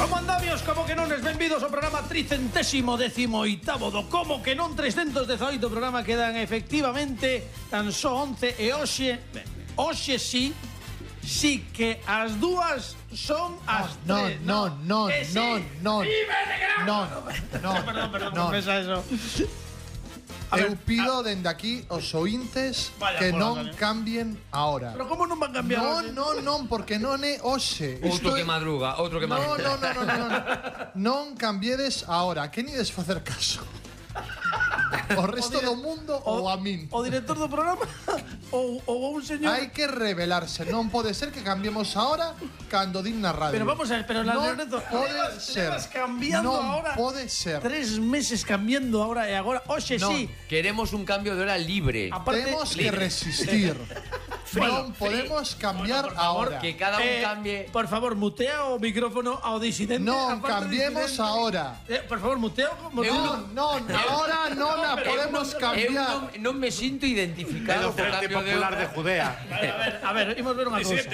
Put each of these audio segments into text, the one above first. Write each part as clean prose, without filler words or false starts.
Como andamios, como que non es benvidos ao programa 318º do Como que non 318 programa quedan efectivamente tan só 11 e hoxe sí que as dúas son as tres. No. Perdón, pensa eso. Eu pido dende aquí aos ointes que non cambien ahora. Pero como non van cambiar? Non, porque non é hoxe. Outro que madruga. Non cambiedes ahora. Que nides facer caso? O resto do mundo ou a min? O director do programa ou un señor? Hai que revelarse. Non pode ser que cambiemos ahora cando din na radio. Pero vamos a ver, pero la non pode ser. Cambiando ahora. Non pode ser. 3 meses cambiando ahora e agora, hoxe sí. Queremos un cambio de hora libre. Temos que resistir. Non podemos cambiar ahora. Que cada un cambie. Por favor, mutea o micrófono ao disidente. Non cambiemos ahora. Por favor, muteo. Ahora non a podemos cambiar. Non me sinto identificado co Frente cambio de Popular de hora. Judea. A ver, imos ver unha cousa.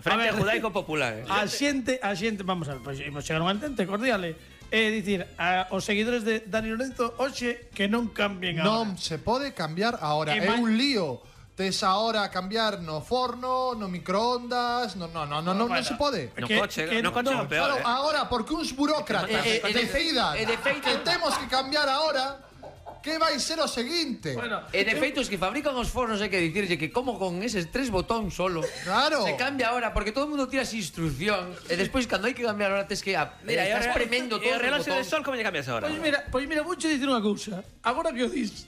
Frente Judaico Popular. A xente, vamos a ver, pois imos chegar a un entente cordial. É dicir, os seguidores de Dani Lorenzo hoxe que non cambien agora. Non se pode cambiar ahora. É un lío. Tes ahora a cambiar no forno, no microondas, non se pode. No coche é peor. Claro, agora porque uns burócratas decidan que temos que cambiar ahora, que vai ser o seguinte? E de feito, os que fabrican os fornos hai que dicirlle que como con eses 3 botóns solo. Claro. Se cambia ahora, porque todo o mundo tira as instruccións e despois cando hai que cambiar ahora tes que estás premendo todo. E o reloxo de sol como lle cambias ahora? Pois mira, vouche dicir unha cousa. Agora que o dis,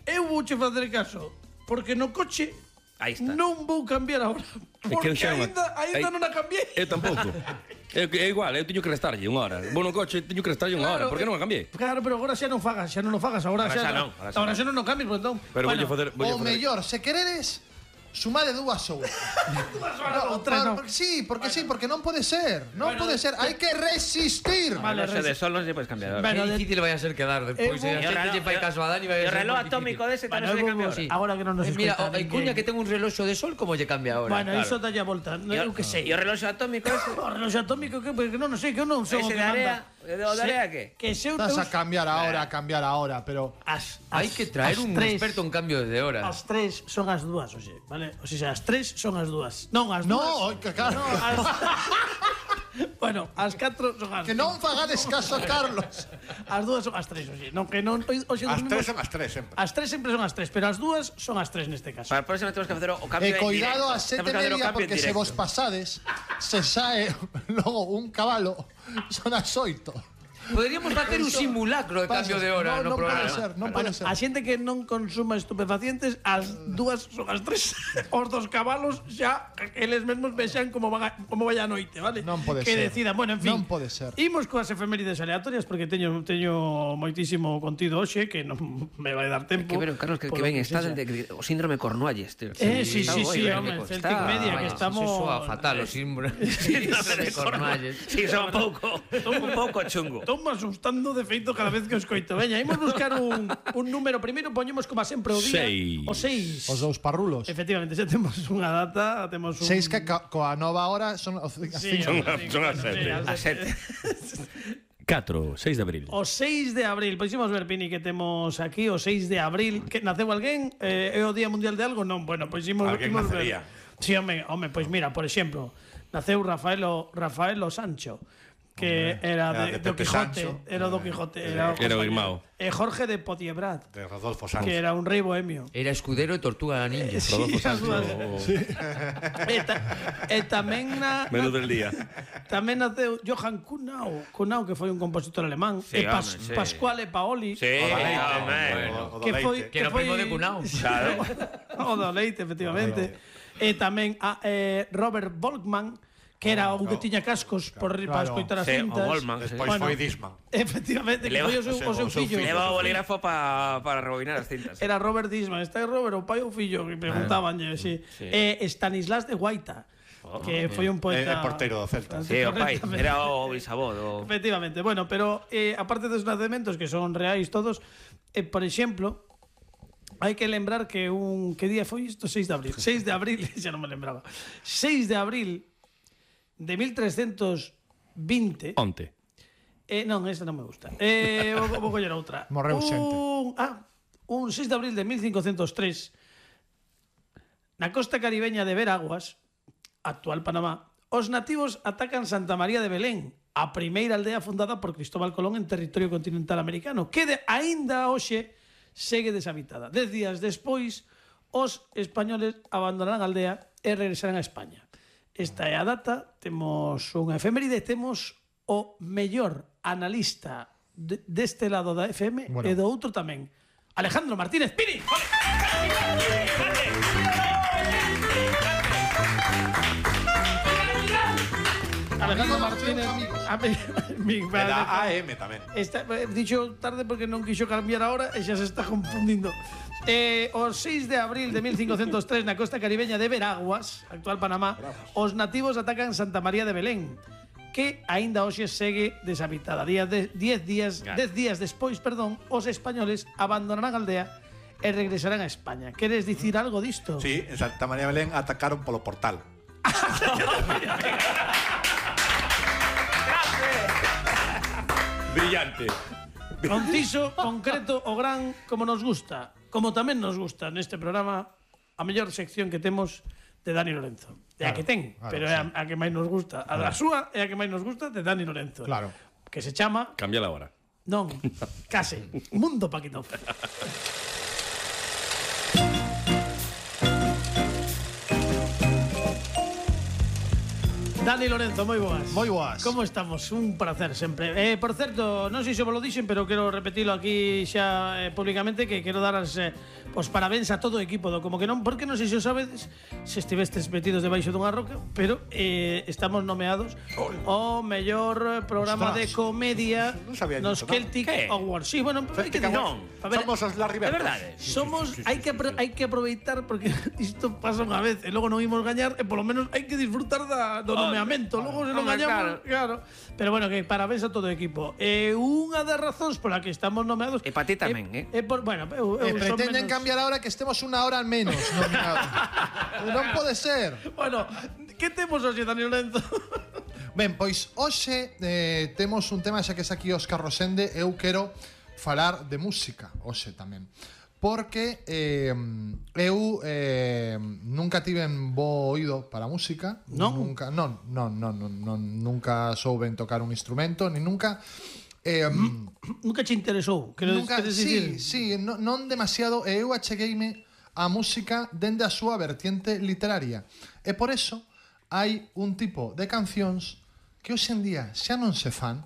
eu vouche facer caso, porque no coche Aí está. non vou cambiar agora. Porque ainda non a cambiei. Eu tampouco. É igual, eu teño que restarlle unha hora. Vou no coche, teño que restarlle unha hora. Por que non a cambiei? Claro, pero agora xa non fagas. Agora xa non cambies, por entón. Pero voulle facer... O mellor, se queredes, sumade 2 horas. Porque non pode ser. Non pode ser. Hai que resistir. O reloxo de sol non se podes cambiar ahora. Que difícil vai a ser quedar despois. Se a xente lle fai caso a Dani vai a ser. E o reloj atómico dese tamén se lle cambia ahora. Agora que non nos escoita. Mira, hai cuña que ten un reloxo de sol, como lle cambia ahora? Bueno, iso dalle a volta. Eu que sei. E o reloxo atómico ese? O reloxo atómico que non sei, que eu non sei o Ese que de manda. area? O de area que? Que se eu Estás a cambiar ahora, pero hai que traer un experto en cambio de horas. As 3 son as 2, oxe, vale? O sea, as 3 son as 2. Non, as 2. No, claro. Bueno, as 4 son as. Que non fagades caso a Carlos. As 2 son as 3, oxe. Non que non oxe As 3 son as 3 sempre. As 3 sempre son as 3, pero as 2 son as 3 neste caso. Para a próxima temos que facer o cambio E cuidado a 7:30 porque se vos vos pasades se sae logo un cabalo. Son as 8. Poderíamos facer un simulacro de cambio de hora no programa. Non pode ser. A xente que non consuma estupefacientes, as 2 son as 3. Os 2 cabalos xa eles mesmos vexan como vai a noite, vale? Non pode que ser. decidan, bueno, en fin. Non pode ser. Imos coas efemérides aleatorias porque teño moitísimo contido hoxe que non me vai dar tempo. Que ver, Carlos, que ben está o síndrome Cornualles, tío. Sí, home, Celtic Media, que estamos... Eso soa fatal, o síndrome de Cornualles. Sí, son un pouco chungo. Estou asustando de feito cada vez que os coito. Veña, imos buscar un número. Primeiro poñemos como sempre o día. O 6. Os 2 parrulos. Efectivamente, xa temos unha data, temos un... 6 que coa nova hora son as 5. Son as 7. A 7. 4, 6 de abril. O 6 de abril, pois imos ver, Pini, que temos aquí o 6 de abril. Que naceu alguén? É o Día Mundial de algo? Non, bueno, pois imos nacería. ver. Sí, home, pois mira, por exemplo, naceu Rafaelo Sancho, que era de do Quijote, era do Quijote, era o irmão. E Jorge de Potiebrat, De Rodolfo Sanz. que era un rei bohemio. Era escudero e tortuga ninja. Rodolfo Sancho. E tamén Menú del día. tamén naceu Johann Kuhnau, que foi un compositor alemán, Sí, e home, sí. Pasquale Paoli, Sí, O do que foi Leite. Que era o primo de Cunao. Claro. o do Leite, efectivamente. E tamén Robert Volkmann, que era un que tiña cascos para escoitar as Sí, cintas. o Goldman. Despois foi Disman. Efectivamente, que foi o seu fillo. Leva o bolígrafo para rebobinar as cintas. Era Robert Disman. Está Robert, o pai ou fillo? Que preguntabanlle, sí. E Stanislas de Guaita, que foi un poeta... É porteiro do Celta. Sí, o pai. Era o bisavó. Efectivamente. Bueno, pero aparte dos nacementos, que son reais todos, por exemplo... Hai que lembrar que que día foi isto? 6 de abril. 6 de abril, xa non me lembraba. 6 de abril de 1320. Onte. Non, esta non me gusta. Vou coller outra. Morreu xente. Un 6 de abril de 1503, na costa caribeña de Veraguas, actual Panamá, os nativos atacan Santa María de Belén, a primeira aldea fundada por Cristóbal Colón en territorio continental americano, que aínda hoxe segue deshabitada. 10 días despois, os españoles abandonarán a aldea e regresarán a España. Esta é a data, temos unha efeméride, temos o mellor analista deste lado da FM e do outro tamén. Alejandro Martínez Pini. Alejandro Martínez Da AM tamén. Dixo tarde porque non quixo cambiar a hora e xa se está confundindo. O 6 de abril de 1503 na costa caribeña de Veraguas, actual Panamá, os nativos atacan Santa María de Belén, que aínda hoxe segue deshabitada. 10 días despois, os españoles abandonarán a aldea e regresarán a España. Queres dicir algo disto? Sí, en Santa María de Belén atacaron polo portal. Brillante. Conciso, concreto, o gran, como nos gusta. Como tamén nos gusta neste programa a mellor sección que temos de Dani Lorenzo. É a que ten, pero é a que máis nos gusta. A da súa é a que máis nos gusta de Dani Lorenzo. Claro. Que se chama... Cámbiala ahora. Non, case. Mundo Paquitón. Dani Lorenzo, moi boas. Moi boas. Como estamos? Un placer sempre. Por certo, non sei se vos lo dixen, pero quero repetilo aquí xa públicamente, que quero dar as os parabéns a todo o equipo do Como que non, porque non sei se o sabedes, se estivestes metidos debaixo dunha roca, pero estamos nomeados o mellor programa de comedia nos Celtic Awards. Sí, bueno, hai que Non, Somos os Larry é Bird. verdade. Somos, hai que aproveitar porque isto pasa unha vez e logo non imos gañar e polo menos hai que disfrutar do nomeamento. Logo se non gañamos, claro. Pero bueno, que parabéns a todo o equipo. Unha das razóns pola que estamos nomeados E para ti tamén, bueno, eu son Pretenden menos... cambiar ahora que estemos unha hora menos nominados. Non pode ser. Bueno, que temos hoxe, Dani Lorenzo? Ben, pois hoxe temos un tema, xa que está aquí Óscar Rosende. Eu quero falar de música hoxe tamén, porque eu nunca tiven bo oído para a música. Non? Nunca souben tocar un instrumento, ni nunca Nunca che interesou, nunca, sí, non demasiado. E eu achegueime a música dende a súa vertiente literaria, e por eso hai un tipo de cancións que hoxe en día xa non se fan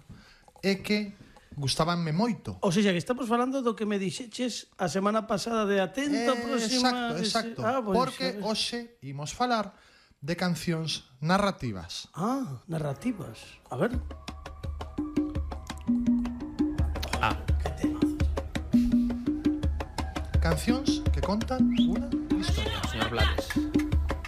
e que gustabanme moito. O sea, que estamos falando do que me dixeches a semana pasada de atento próxima... Exacto. Pues, Porque hoxe imos falar de cancións narrativas. Narrativas. A ver. Que temazos. Cancións que contan unha historia. Señor Blades.